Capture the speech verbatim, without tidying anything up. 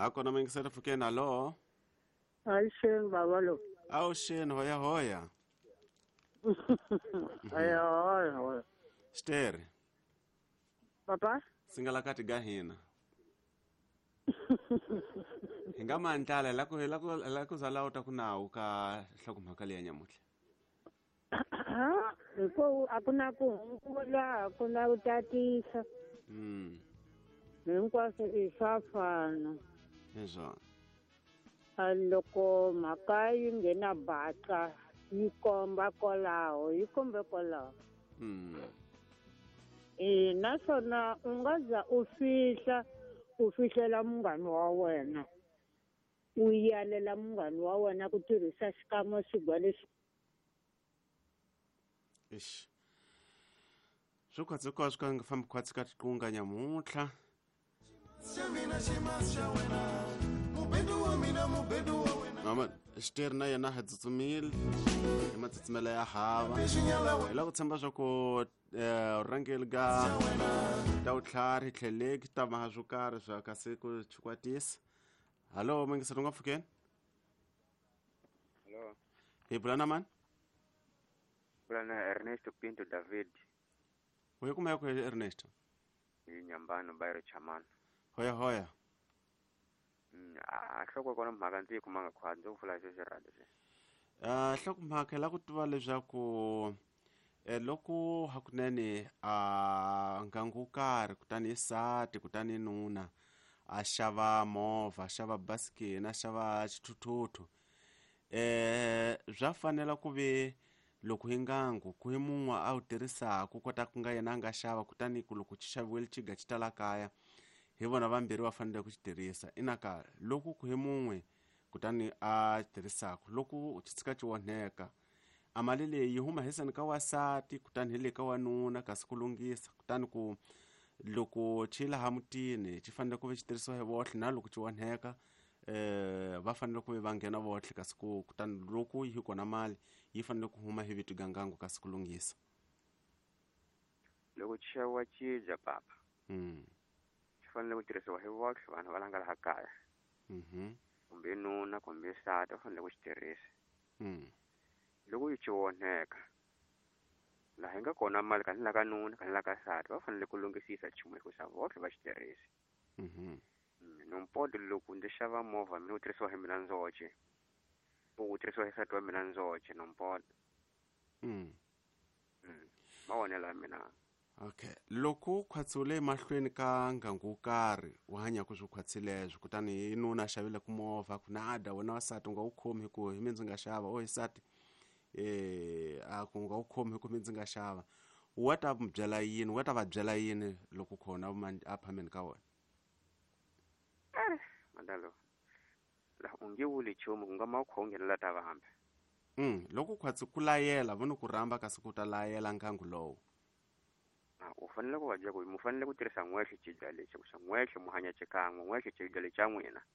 A kona mingisela pfukeni, alo. Avuxeni baba lo. Avuxeni, hoya hoya. Hoya hoya hoya. Xiteri. Papa? Singalakati ga hina. Hi nga mandlala hi la ku hi la ku hi la ku za la u ta ku nawu ka nhlokomhaka leyi ya nyamuntlha. Hikuva a ku na ku hungula, a ku na ku tatisa. Mm. Hinkwaswo i swa fana. Hi swona. A loko mhaka yi nghena baca yi komba kwalaho, yi kombe kwalaho. Mm. E naswona u nga za u fihla, u fihlela munghana wa wena. U yalela munghana wa wena ku tirhisa xikamo xigwa lexi. Ixi. Swi khwatsi hinkwaswo ka nga fambi khwatsi ka tiqunga nyamuntlha. Mama xiteri na yena ha tsutsumile hi matsutsumelo ya hava. Hi lava ku tshemba swa ku eh rhangeli ga ta vutlhari tlheleki ta maha swo karhi swa kasi ku chikwatisa. Hallo mingiselo nga pfukeni. Hello. Hi bula na mani? Bula na Ernesto Pinto David. U yi kuma ku Ernesto? Hi Nyambano Bayro Chamana. Hoya hoya. Mm, a hloko kona mhaka ndzi yi kumanga khwatsi ndzi ku pfula xexo radio se. Ah hlokomhaka la ku tiva leswaku eh loko hakunene a ngangu wo karhi kutani i sati kutani nuna a xava movha, a xava basikeni, a xava xithuthuthu. Eh swa fanela ku ve loko hi ngangu ku hi mun'we a wu tirhisaka kota ku nga yena a nga xava kutani ku loko xi xaviwile xiga xi ta la kaya hi vona vambirhi va fanele ku xi tirhisa. Ina ka loko ku hi mun'we kutani a tirhisaka loko xi tshika xi onheka a mali leyi yi huma hiseni ka wasati kutani hi le ka wanuna kasi ku lunghisa kutani ku loko xi laha mutini xi fanele ku ve xi tirhisiwa hi vohle na loko xi onheka eh va fanele ku ve va nghena vohle kasi ku kutani loko yi kona mali yi fanele ku huma hi vito gangangu kasi ku lunghisa. Loko xi xaviwa cibya papa. Mm. Xi fanele ku tirhisiwa hi vohle vanhu va la nga laha kaya. Mhm. Kumbe nuna kumbe nsati va fanele ku xi tirhisa. Mm. Loko yi xi onheka laha yi nga kona mali ka ni la ka nuna ka ni la ka nsati va fanele ku lunghisisa nchumu hikusa vohle va xi tirhisa. Mhm. Nompoto loko ndzi xava movha mina wu tirhisiwa hi mina ndzoxe. Wu tirhisiwa hi nsati wa mina ndzoxe nompoto. Mm. Mm. Mavonelo ya mina. Okay. Loko khwatsule emahlweni ka ngangu wo karhi wu hanyaka swo khwatsileswo kutani hi nuna a xavile ku movha ku nada wena wasati u nga wu khomi hi ku hi mina ndzi nga xava o hi nsati eh a ku nga wu khomi hi ku mi ndzi nga xava wa ta mi byela yini wa ta va byela yini loko khona a phameni ka wena? Eh, mandalo. La u nge vuli nchumu ku nga ma kho nghenela ta vambe. Mm, loko khwatsi ku layela vona ku rhamba kasi ku ta layela ngangu lowu. Ah, u fanele ku va byela ku mu fanele ku tirhisa n'wexe xibya lexi ku xa n'wexe mu hanya xikan'we n'wexe xibya lexi xa n'wina.